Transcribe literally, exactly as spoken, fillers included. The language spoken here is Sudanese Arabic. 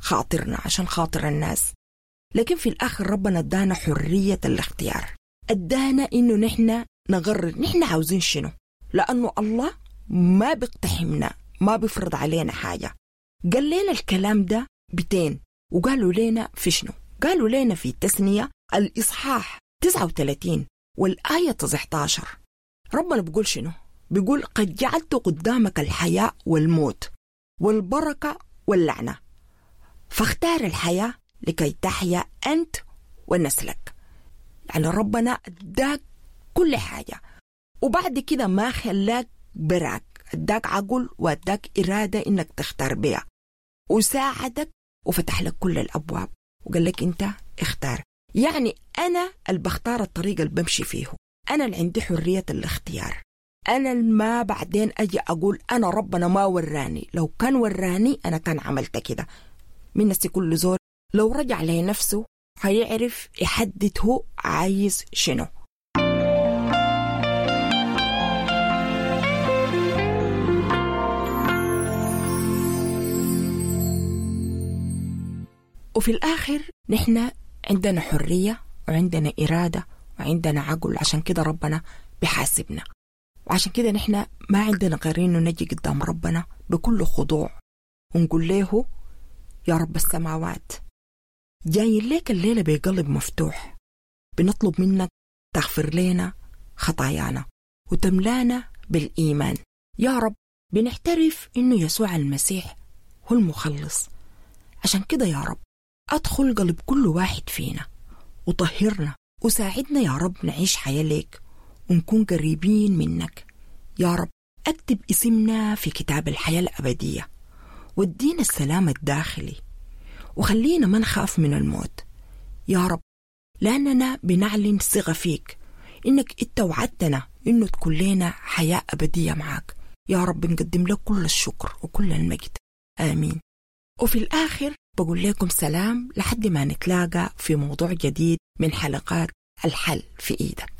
خاطرنا، عشان خاطر الناس. لكن في الآخر ربنا ادانا حرية الاختيار، ادانا إنه نحن نقرر نحن عاوزين شنو، لأنه الله ما بيقتحمنا، ما بيفرض علينا حاجة. قال لنا الكلام ده بتين، وقالوا لنا في شنو؟ قالوا لنا في التثنية الإصحاح تسعة وثلاثين والآية تسعة عشر. ربنا بيقول شنو؟ بيقول قد جعلت قدامك الحياة والموت والبركة واللعنة، فاختار الحياة لكي تحيا أنت ونسلك. يعني ربنا اداك كل حاجة، وبعد كده ما خلاك براك، اداك عقل واداك إرادة إنك تختار بيها، وساعدك وفتح لك كل الأبواب وقال لك أنت اختار. يعني أنا اللي بختار الطريق اللي بمشي فيه، أنا اللي عندي حرية الاختيار، أنا ما بعدين أجي أقول أنا ربنا ما وراني، لو كان وراني أنا كان عملت كده. من نفسي كل زول لو رجع لنفسه هيعرف يحدد هو عايز شنو. وفي الآخر نحن عندنا حرية وعندنا إرادة وعندنا عقل، عشان كده ربنا بحاسبنا، وعشان كده نحن ما عندنا غير إنه نجي قدام ربنا بكل خضوع ونقول له يا رب السماوات، جايين لك الليلة بقلب مفتوح، بنطلب منك تغفر لنا خطايانا وتملانا بالإيمان. يا رب بنعترف إنه يسوع المسيح هو المخلص، عشان كده يا رب أدخل قلب كل واحد فينا وطهرنا وساعدنا يا رب نعيش حياة ليك ونكون قريبين منك. يا رب أكتب اسمنا في كتاب الحياة الأبدية، وادينا السلام الداخلي، وخلينا ما نخاف من الموت يا رب، لأننا بنعلن ثقة فيك إنك إنت وعدتنا إنه تكون لنا حياة أبدية معاك. يا رب نقدم لك كل الشكر وكل المجد، آمين. وفي الآخر بقول لكم سلام لحد ما نتلاقى في موضوع جديد من حلقات الحل في إيدك.